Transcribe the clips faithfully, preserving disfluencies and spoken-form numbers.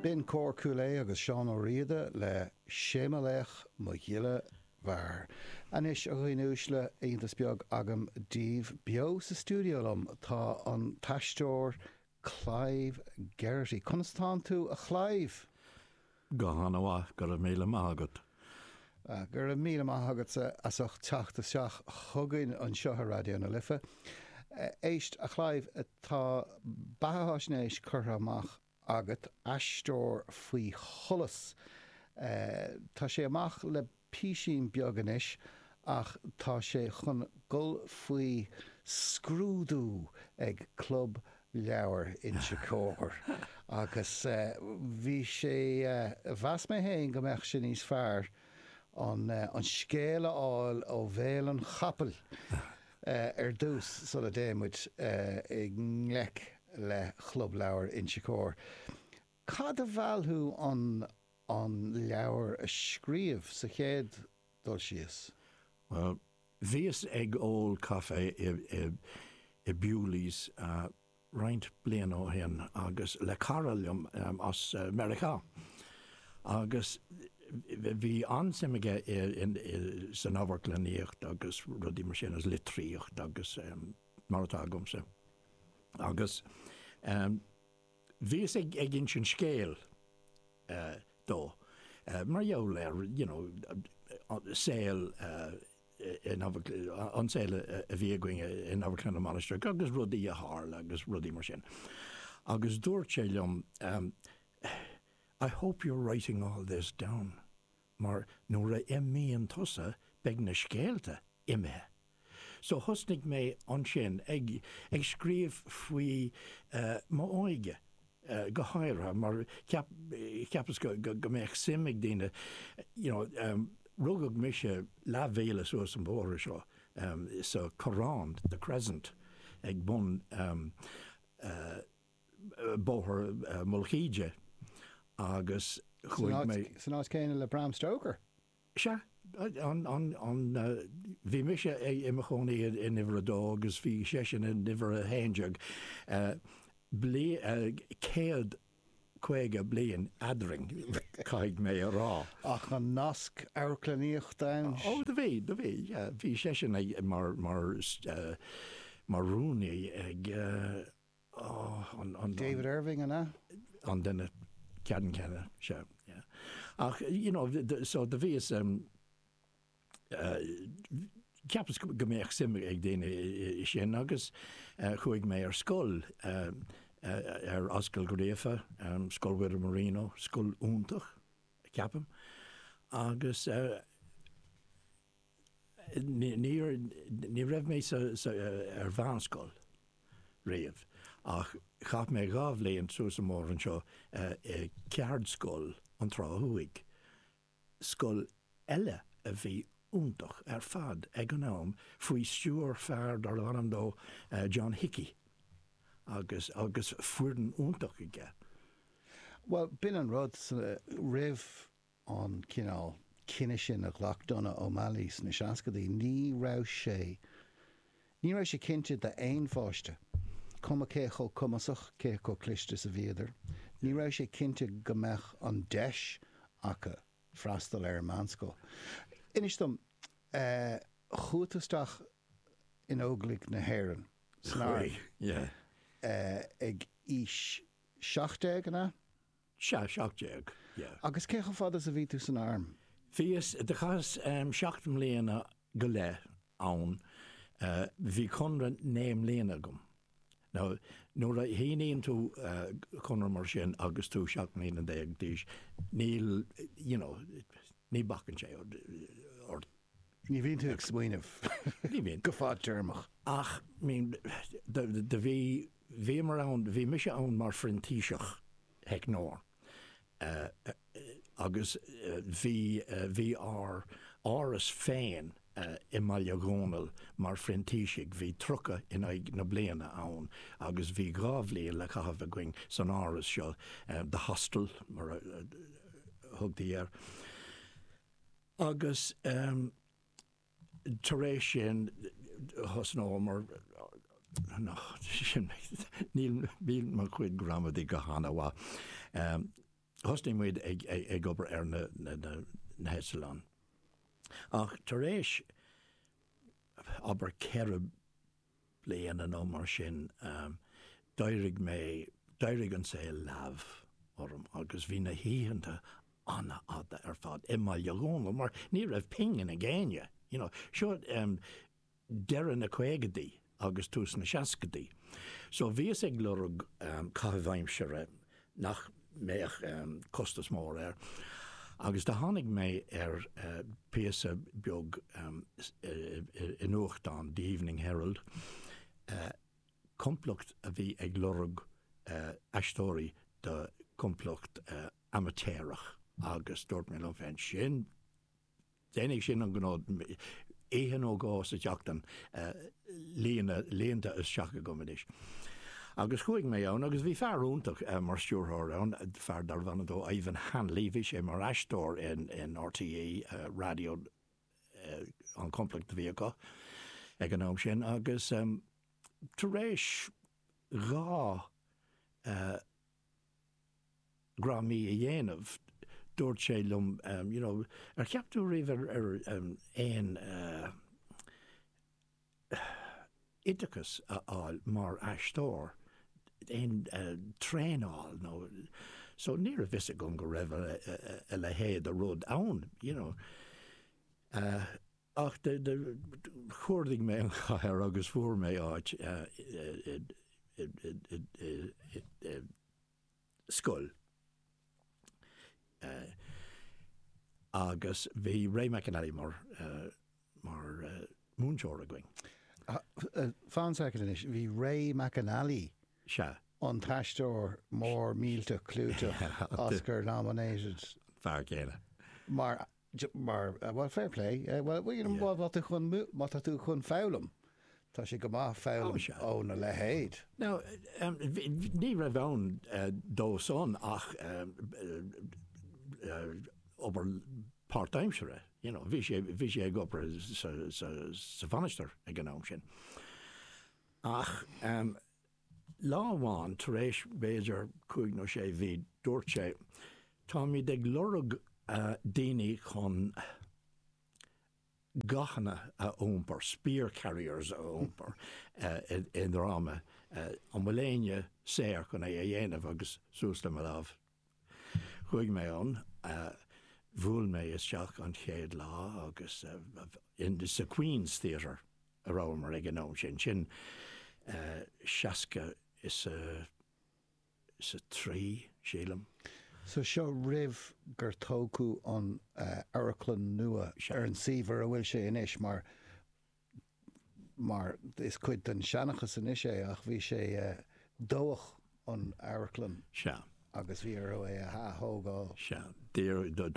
B'in Cór Chúil Aodha agus Seán Ó Riada le Sé mo Laoch Mo Ghile Mhear. Anois, a dhaoine uaisle, iontas beag agam daoibh. Beo sa stiúideo liom tá an t-aisteoir Clive Geraghty. Conas tánn tú, a Chlive? Go han-mhaith, go raibh míle maith agat. Go raibh míle maith agatsa as ucht teacht isteach chugainn anseo ar Raidió na Life. Éist, a Chlive, tá beathaisnéis curtha amach agat, Aisteoir faoi Sholas. Tá sé amach le písín beag anois ach tá sé chun dul faoi scrúdú ag Club Leabhar Inse Chór agus bhí sé, mheas mé féin go mbeadh sé níos fearr an scéal a fháil ó bhéal an chapaill ar dtús sula dtéann muid i ngleic le Chlub Leabhar Inse Chór. Cad a mheall thú an an leabhar a scríobh sa chéad dul síos? Bhuel, bhíos ag ól caife i i Bewley's roinnt bliana ó shin agus le cara liom as Meiriceá agus bhí an-suim aige san amharclannaíocht agus rudaí mar sin, agus litríocht agus mar atá agamsa. Agus bhíos ag ag insint scéil dó mar gheall ar you know saol in an saol a bhí againn in Amharclann na Mainistreach agus rudaí a tharla agus rudaí mar sin. Agus dúirt sé liom, "I hope you're writing all this down mar nuair a imíonn tusa beidh na scéalta imithe." So thosnaigh mé ansin ag ag scríobh faoi m'óige go háirithe mar cheap cheapas go go mbeadh suim ag daoine you know rugadh mise leathmhíle suas an bóthar seo sa Corrán, The Crescent, ag bun Bóthar Mhullach Íde agus chuaigh mé. San áit chéanna le Bram Stoker? Sea. An, an, an, bhí mise i mo chónaí in uimhir a dó agus bhí seisean in uimhir a haon déag. Bliain, céad caoga bliain eadrainn, caithfidh mé a rá. Ach an nasc amharclannaíochta ann? Ó, do bhí, do bhí, yeah. Bhí seisean ag, mar, mar, mar rúnaí ag, ó, an, an. David Irving, an ea? An duine ceannann céanna, sea, yeah. Ach, you know, so do bhíos, cheapas go mbeadh suim ag daoine i sin agus chuaigh mé ar scoil ar Ascaill Ghríofa, Scoil Mhuire Marino, scoil iontach, ceapaim, agus níor, ní raibh mé sa, sa, ar mheánscoil riamh ach chaith mé dhá bhliain suas an bóthar anseo i Ceardscoil an Trá Thuaidh. scoil eile a bhí iontach ar fad ag an am faoi stiúir fear darbh ainm dó John Hickey agus agus foireann iontach aige. Bhuel, b'in an rud, roimh an cineál cinneadh sin a ghlac Donogh O'Malley sna seascadaí, ní raibh sé, ní raibh sé cinnte d'aon pháiste, cuma cé chomh cumasach, cé chomh cliste is a bhíodar, ní raibh sé cinnte go mbeadh an deis acu freastal ar an meánscoil. Inis dom, chuaigh tú isteach in Óglaigh na hÉireann, san arm, ag aois seacht déag, an ea? Sea, seacht déag, yeah. Agus cé chomh fada is a bhí tú san arm? Bhíos, do chaitheas seacht mbliana go leith ann. Bhí conradh naoi mbliana agam. Now, nuair a shíníonn tú conradh mar sin agus tú seacht mbliana déag d'aois, níl, you know, ní bacann sé ort. Ní bhíonn tú ag smaoineamh. Ní bhíonn. Go fadtéarmach. Ach, I mean, do, do bhí, bhíomar ann, bhí mise ann mar phrintíseach theicneoir agus bhí, bhí ár áras féin i mBaile Dhónaill mar phrintísigh, bhí tríocha in aghaidh na bliana ann agus bhí dhá bhliain le caitheamh againn san áras seo, The Hostel mar a thugtaí air. Agus tar éis sin thosnómar, níl mo chuid gramadaí go han-mhaith. Thosnaigh muid ag, ag, ag obair ar na, na, na, na heitleáin. Ach tar éis abair ceithre bliana nó mar sin, um, d'éirigh mé, d'éirigh an saol leamh orm agus bhí na hoícheanta an-fhada ar fad i mBaile Dhónaill mar ní raibh pingin ag éinne. You know, seo um, deireadh na caogaidí agus tús na seascaidí. So bhíos ag lorg um, caitheamh aimsire nach mbeadh um, costas mór air. Agus do tháinig mé ar uh, píosa beag um, i nuachtán The Evening Herald, uh, complacht a bhí ag lorg uh, aisteoirí do complacht uh, amaitéarach agus dúirt mé liom féin sin déanfaidh sin an gnó oíche nó dhó sa tseachtain líonta isteach agam anois. Agus chuaigh mé ann agus bhí fear iontach mar stiúrthóir ann, fear darbh ainm dó Ivan Hanley, bhí sé mar aisteoir in, in RTÉ uh, radio uh, an complacht a bhí acu ag an am sin agus um, tar éis dhá uh, dhráma a dhéanamh dúirt sé liom um, you know, ar cheap tú riamh ar, ar um, aon uh, oideachas a fháil mar aisteoir aon uh, traenáil nó so ní raibh fhios agam go raibh a, a, a leithéid de rud ann you know. Uh, ach de, de, chuardaigh mé an chathair agus fuair mé áit uh, i, i, i, i, i, i, scoil. Uh, agus bhí Ray McAnally mar, uh, mar uh, múinteoir againn. Uh, Fan soicind anois, bhí Ray McAnally Sea. an t-aisteoir mór millteach clúiteach Oscar nominated Fear céile. mar mar uh, well fair play uh, well well, you know, yeah. tú chun má tá tú chun foghlaim Tá sé go maith foghlaim ó na leithéid. Now, um, ní raibh ann uh, dó san ach um, uh, obair páirtaimseartha. You know, bhí sé bhí sé ag obair sa, sa, sa mhainistir ag an am sin. Ach um, lá amháin tar éis b'fhéidir cúig nó sé mhí dúirt sé, Táimid ag lorg uh, daoine chun gathanna a iompar, spear carriers a iompar uh, i, i ndráma uh, an bhfuil éinne saor chun é a dhéanamh agus suas le mo lámh. Chuaigh mé ann, uh, bhuail mé isteach an chéad lá agus uh, in sa Queen's Theatre a rabhamar ag an am sin sin uh, seasca is a is a trí sílim. So seo roimh gur tógadh an uh, amharclann nua ar an suíomh a bhfuil sé anois mar mar is cuid den seanchas anois é ach bhí sé uh, dódh an amharclann Sea. agus bhí orthu é a ath-thógáil. Sea,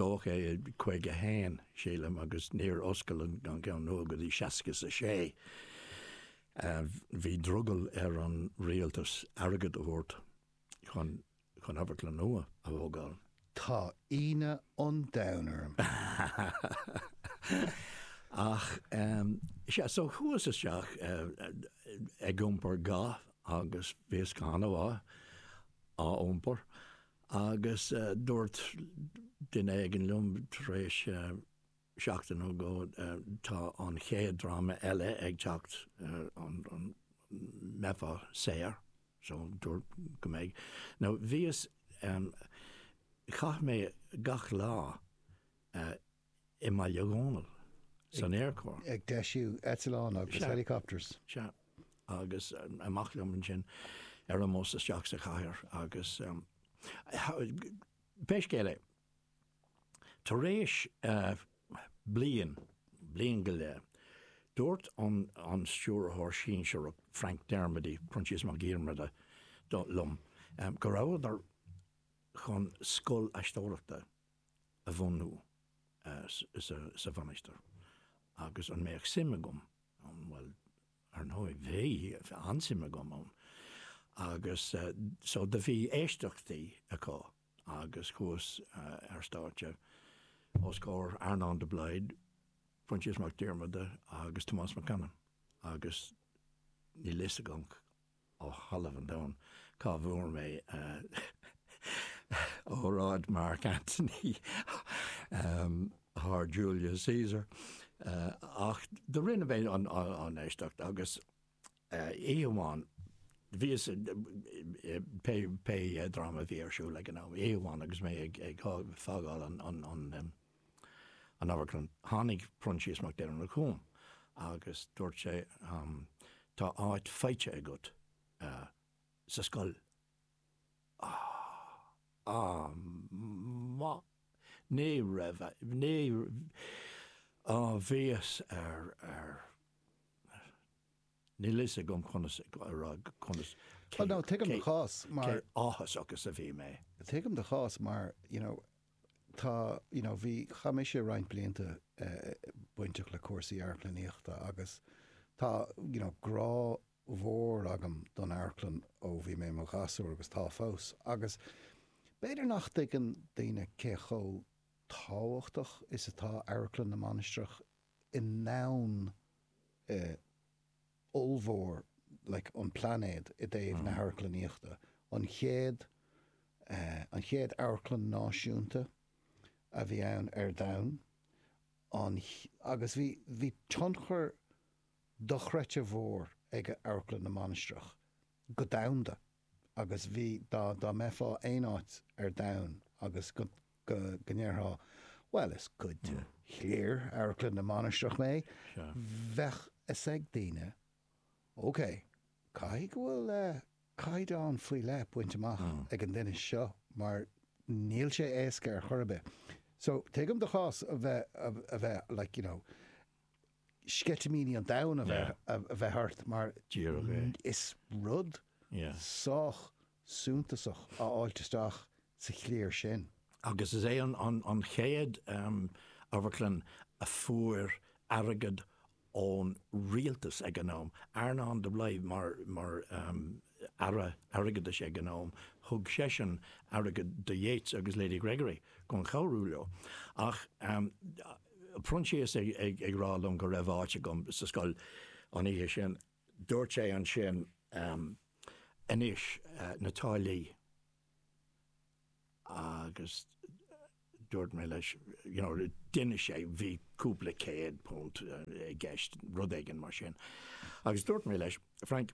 dódh é caoga haon sílim agus níor oscail an ceann nua go dtí seasca a sé. Bhí drogall ar an rialtas airgead a thabhairt chun chun amharclann nua a thógáil. Tá ionadh an domhain orm. Ach um, sea, so chuas isteach uh, ag iompar ga agus bhíos go han-mhaith á iompar agus uh, dúirt duine éigin liom tar éis uh, seachtain nó dhó uh, tá an chéad dráma eile ag teacht uh, an, an mbeifeá saor so dúirt go mbeidh. Now bhíos um, chaith mé gach lá uh, i mBaile Dhónaill san Aerchór. Ag deisiú eitleán agus Sea. helicopters. Sea, agus um, amach liom ansin ar an mbus isteach sa chathair agus um, pé scéal é. Tar éis uh, bliain, bliain go leith, dúirt an, an stiúrthóir sinsearach Frank Dermody, Proinsias Mac Diarmada do liom, um, go rabhadar chun scoil aisteoireachta a bhunú uh, sa, sa mhainistir. Agus an mbeadh suim agam ann, well, ar ndóigh bhí an-suim agam ann. Agus uh, so do bhí éisteachtaí acu agus chuas uh, ar stáitse os comhair Earnán de Blaghd, Proinsias Mac Diarmada agus Tomás Mac Canainn. Agus níl fhios agam ó thalamh an domhain cá bhfuair mé uh, óráid bhfad Mark Antony um, thar Julius Caesar. Uh, ach do rinne mé an, an, an éisteacht agus uh, oíche amháin bhíos pé pé dráma bhí ar siúl ag an am oíche amháin agus mé ag ag fágáil an an an um, an amharclann tháinig Proinsias Mac Diarmada chugam agus dúirt sé um, tá áit faighte agat uh, sa scoil. Ah, ah, ma ní raibh ní á bhíos ar ar Níl fhios agam conas rá conas Well, no, tuigim do chás mar áthas agus a bhí mé. Tuigim do chás mar you know, tá you know, bhí chaith mise roinnt blianta uh, bainteach le cúrsaí amharclannaíochta agus tá you know, grá mhór agam don amharclann ó bhí mé mo ghasúr agus tá fós agus b'fhéidir nach dtuigeann daoine cé chomh tábhachtach is atá Amharclann na Mainistreach i ndomhan uh, ollmhór like, an pláinéad i dtaobh mm. na hamharclannaíochta. An chéad uh, an chéad amharclann náisiúnta a bhí ann ar domhan an, agus bhí, bhí tionchar dochreidte mhór ag Amharclann na Mainistreach go domhanda agus bhí dá dá mbeifeá aon áit ar domhan agus go go go ndéarfá well is cuid de chliar Amharclann na Mainistreach mé bheadh fhios ag daoine ok caithfidh go bhfuil uh, caighdeán faoi leith bainte amach mm. ag an duine seo mar níl sé éasca ar chor ar bith. So tuigim do chás a bheith a bheith like you know sceitimíní an domhain a bheith a bheith ort mar is rud sách suntasach a fháilt isteach sa chliar sin. Agus is é an, an, an chéad um, amharclann a fuair airgead ón rialtas ag an am. Earnán de Blaghd mar, mar um, aire airgeadais ag an am, thug seisean airgead do Yeats agus Lady Gregory chun cabhrú leo. Ach um, Proinsias ag, ag, ag rá liom go raibh áit agam sa scoil an oíche sin, dúirt sé ansin um, anois uh, na táillí agus dúirt mé leis you know, d'inis sé bhí cúpla céad punt i gceist rud éigin mar sin. Agus dúirt mé leis, Frank,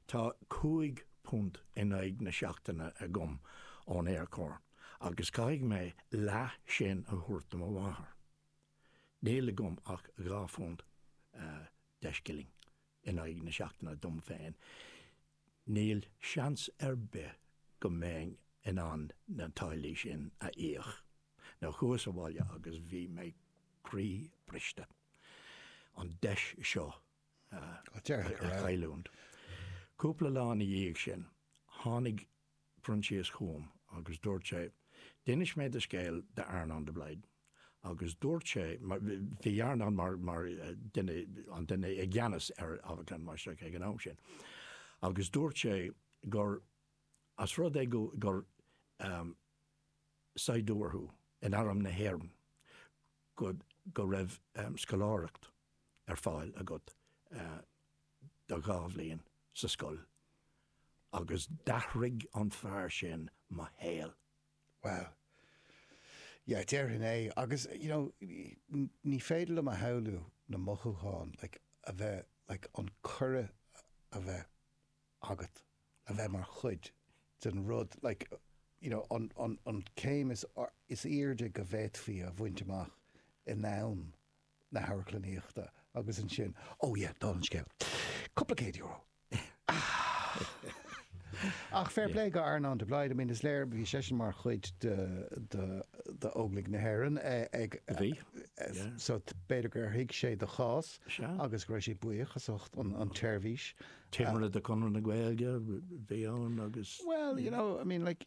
tá cúig punt in aghaidh na seachtaine agam ón Aerchór, agus caithfidh mé leath sin a thabhairt do mo mháthair. Níl agam ach dhá phunt uh, deich scilling in aghaidh na seachtaine dom féin. Níl seans ar bith go mbeinn in ann na táillí sin a íoc. Now chuas abhaile agus bhí mé croí briste. An deis seo uh, a chailliúint. Cúpla lá ina dhiaidh sin, tháinig Proinsias chugam agus dúirt sé, D'inis mé do scéal d'Earnán de Blaghd. Agus dúirt sé, bhí Earnán mar, mar duine, an duine i gceannas ar Amharclann na Mainistreach ag an am sin. Agus dúirt sé gur as rud é go, gur um, saighdiúir thú in arm na hÉireann go, go raibh um, scoláireacht ar fáil agat uh, do dhá bhliain sa scoil. Agus d'athraigh an fear sin mo shaol. Wow. Yeah, déarfainn é agus you know, ní féidir liom a shamhlú na mothúcháin like, a bheith like, an cuireadh a bheith agat a bheith mar chuid den rud like, you know, an, an, an céim is, is airde go bhféadfaí a bhaint amach i ndomhan na hamharclannaíochta agus ansin oh yeah, dála an scéil. Cúpla céad euro. Ach fair play go Earnán de Blaghd, I mean is léir bhí seisean mar chuid de de de Óglaigh na hÉireann ag Bhí. so b'fhéidir gur thuig sé do chás agus go raibh sé buíoch as ucht an an tseirbhís. Timire de Chonradh na Gaeilge bhí ann agus Well, you know, I mean like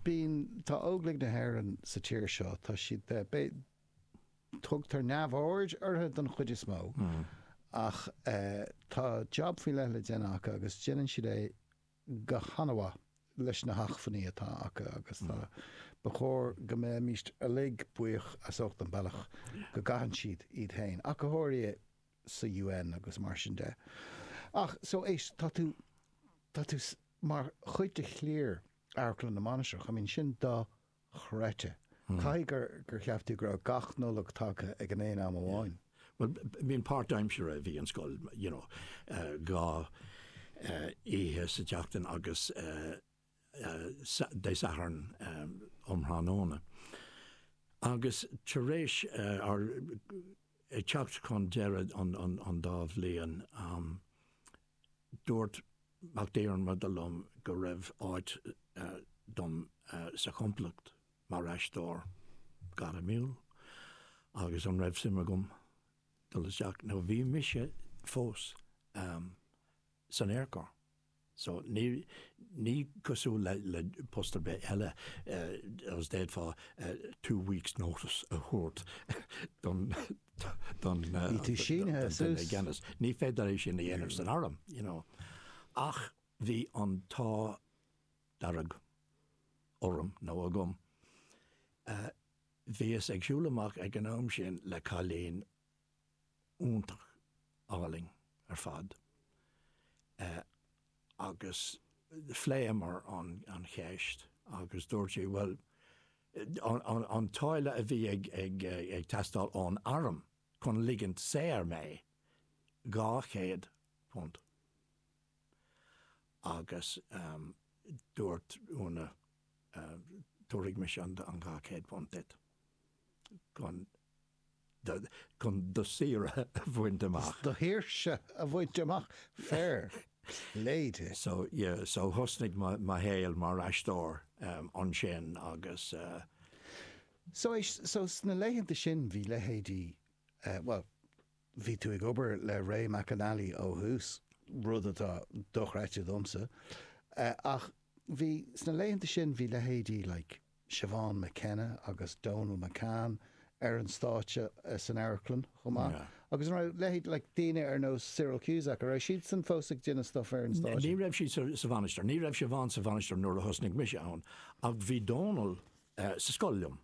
bíonn tá Óglaigh na hÉireann sa tír seo tá siad tugtar neamhaird orthu don chuid is mó ach uh, tá job faoi leith le déanamh acu agus déanann siad é go han-mhaith leis na hacmhainní atá acu agus tá ba chóir go mbeimist uilig buíoch as ucht an bealach go gcaitheann siad iad féin ach go háirithe sa UN agus mar sin de. Ach so éist tá tú tá tú mar chuid de chliar Amharclann na Mainistreach, I mean sin dochreidte. Dochreidte. Caithfidh gur gur cheap tú go raibh gach Nollaig tagtha ag an aon am amháin. Well, bhí'n páirtaimseartha a bhí an scoil, you know, uh, dhá uh, oíche sa tseachtain agus uh, uh, Dé Sathairn um, um thráthnóna. Agus tar éis uh, ar ag teacht chun deireadh an, an, an dá bhliain um, dúirt Mac Diarmada liom go raibh áit uh, dom uh, sa chomplacht mar aisteoir gairmiúil agus an raibh suim agam dul isteach nó bhí mise fós um, san Aerchór. So ní ní cosúil le, le post ar bith eile uh, agus d'fhéadfá uh, two weeks notice a thabhairt don don uh, Bhí tú sínithe suas. gceannas. Ní féidir é sin a dhéanamh san arm, you know. Ach bhí an t-ádh dearg orm nó agam. Uh, Bhíos ag siúl amach ag an am sin le cailín iontach álainn ar fad. Uh, agus phléamar an, an cheist agus dúirt sé well an, an, an táille a bhí ag, ag, ag teastáil ón arm chun ligint saor mé dhá chéad punt. Agus um, dúirt Úna uh, tabharfaidh mise an an dhá chéad punt duit. Chun chun do shaoire a bhaint amach. Do shaoirse a bhaint amach fair play di. So yeah, so thosnaigh mo shaol mar aisteoir um, ansin agus uh, So éis so sna laethanta sin bhí leithéidí uh, well, bhí tú ag obair le Ray McAnally ó thús rud atá dochreidte domsa. Uh, ach bhí sna laethanta sin bhí leithéidí like Siobhan McKenna agus Donal McCann ar an stáitse uh, san amharclann chomh maith. Yeah. Agus an raibh leithéid like daoine ar nós Cyril Cusack, a raibh siad san fós ag déanamh stuff ar an Ní stáitse. raibh siad sa, sa Mhainistir, ní raibh Siobhan sa Mhainistir nuair a thosnaigh mise ann, ach bhí Donal uh, sa scoil liom.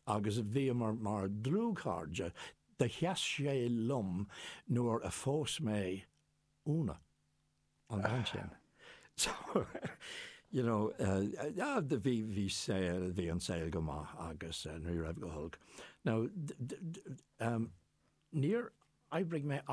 Agus bhí mar mar dlúthchairde do sheas sé liom nuair a phós mé Úna an bhean sin. So you know, uh, uh, bhí bhí saol bhí an saol go maith agus uh, ní raibh go holc. Now, d- d- d- um, níor oibrigh mé